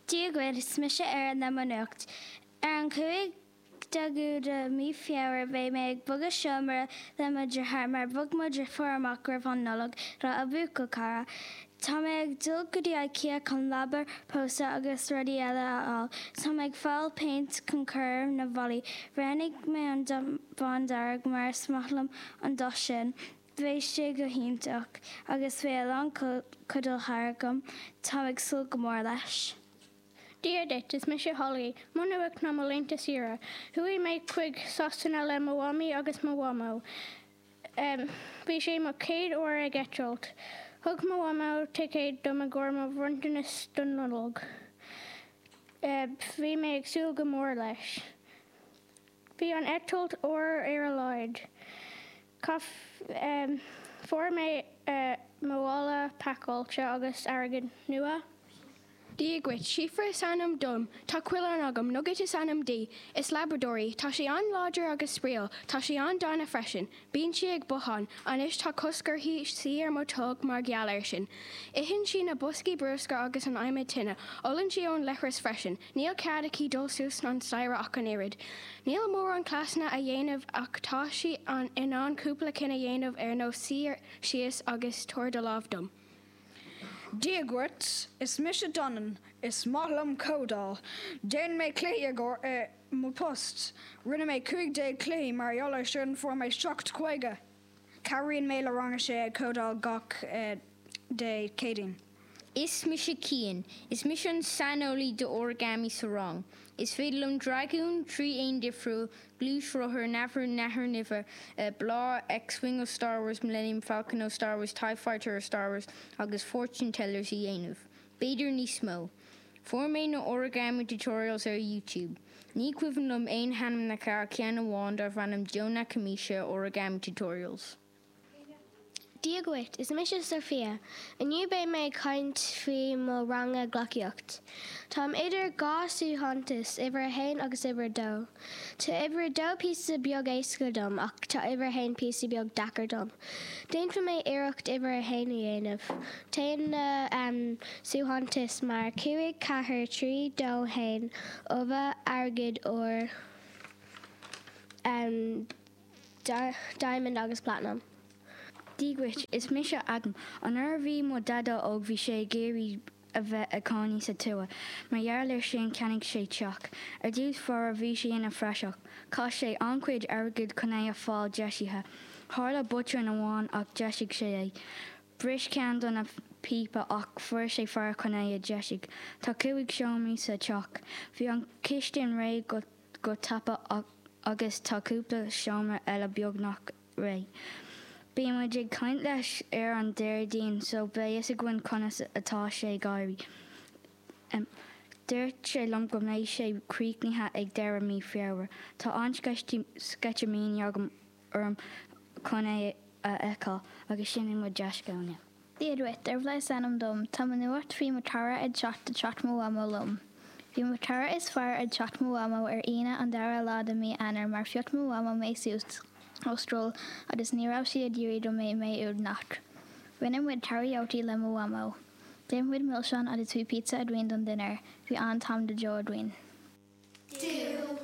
Dia dhuit, is mise Erin le mo nuacht. Ar an 15ú de mí Feabhra beidh mé ag bogadh seomra le mo dheartháir mar bhog mo dheirfiúr amach roimh an Nollaig le a buachaill cara. Tá mé ag dul go dtí Ikea chun leaba pósta agus rudaí eile a fháil. Tá mé ag fáil péint chun cur ar na bhallaí. Roghnaigh mé an dath bándearg mar is maith liom an dath sin. Beidh sé go hiontach agus beidh a lán cuideachta agam. Táim ag súil go mór leis. Dia duit, is mise Holly. Mo nuacht ná mo laethanta saoire. Chuaigh mé chuig Sasana le mo mhamaí agus mo mhamó. Bhí sé mo chéad uair ag eitilt. Thug mo mhamó ticéad dom i gcomhair mo bhronntanas don Nollaig. Bhí mé ag súil go mór leis. Bhí an eitilt uair ar a laghad. Fuair mé mo mhála pacáilte agus airgead nua. Dia dhuit, Síofra is ainm dom. Tá coileán agam, Nugget is ainm di. Is Labrador í. Tá sí an-láidir agus spraíúil. Tá sí an-dána freisin. Bíonn sí ag bothán. Anois tá cosc uirthi suí ar mo tolg mar gheall air sin. Itheann sí na boscaí bruscair agus an adhmad tine. Ólann sí ón leithreas freisin. Níl cead aici dul suas an staighre ach an oiread. Níl mórán cleasanna a dhéanamh ach tá sí in ann cúpla cinn a dhéanamh ar nós suí síos agus tabhair do lámh dom. Dia dhuit, is mise Donan. Is maith liom códáil. Déanann mé cluichí i gcomhair mo post. Rinne mé 15 cluichí mar gheall ar sin fuair mé 7 50. Cabhraíonn mé le rang a sé ag códáil gach Dé Céadaoin. Is mise Cian. Is mise an saineolaí d'origami sa rang. Is féidir liom dragún, 3 éan difriúil, gluaisrothar, nathair nimhe, bláth, X-Wing ó Star Wars, Millennium Falcon ó Star Wars, Tie Fighter ó Star Wars agus Fortune Tellers a dhéanamh. B'fhéidir níos mó. Fuair mé na origami tutorials ar YouTube. Ní cuimhin liom aon hainmneacha ach ceann amháin darbh ainm Joe Nakamisha Origami Tutorials. Dia dhuit, is mise Sophia. Inniu beidh mé ag caint faoi mo ranga gleacaíocht. Táim idir 2 suaitheantas, uimhir a haon agus uimhir a dó. Tá uimhir a dó píosa beag éasca dom ach tá uimhir a haon píosa beag deacair dom. Déanfaidh mé iarracht uimhir a haon a dhéanamh. Téann na suaitheantais mar 5, 4, 3, 2, 1, ubh, airgead, ór, Diamond agus Platinum. Dia dhuit, is mise Adam. An uair a bhí mo dhaideo óg bhí sé ag iarraidh a bheith ag cónaí sa tuath. Mar gheall ar sin cheannaigh sé teach. Ar dtús báire bhí sé ina phraiseach. Chaith sé an-chuid airgid chun é a fáil deisithe. Tharla botún amháin ach dheisigh sé é. Bhris ceann do na píopa ach fuair sé fear chun é a dheisiú. Tá cúig seomraí sa teach. Bhí an chistin réidh go go tapa agus tá cúpla seomra eile beagnach réidh. Bíonn muid ag caint leis ar an Déardaoin so beidh fhios againn conas atá sé ag éirí. Dúirt sé liom go mbeidh sé críochnaithe ag deireadh mí Feabhra. Tá an-sceitimíní agam orm chun é a fheiceáil agus sin é mo dea-scéal inniu. Dia duit, Dervla is ainm dom. Tá mo nuacht faoi mo chara ag teacht do teach mo mhamó liom. Bhí mo chara is fearr ag teach mo mhamó ar Aoine an dara lá de mí Eanáir mar phioc mo mhamó mé suas ó scoil agus ní raibh sí ag iarraidh go mbeidh mé uaigneach. Rinne muid karaoke le mo mhamó. D'ith muid milseáin agus bhí pizza againn don dinnéar. Bhí an-t-am go deo againn. Do.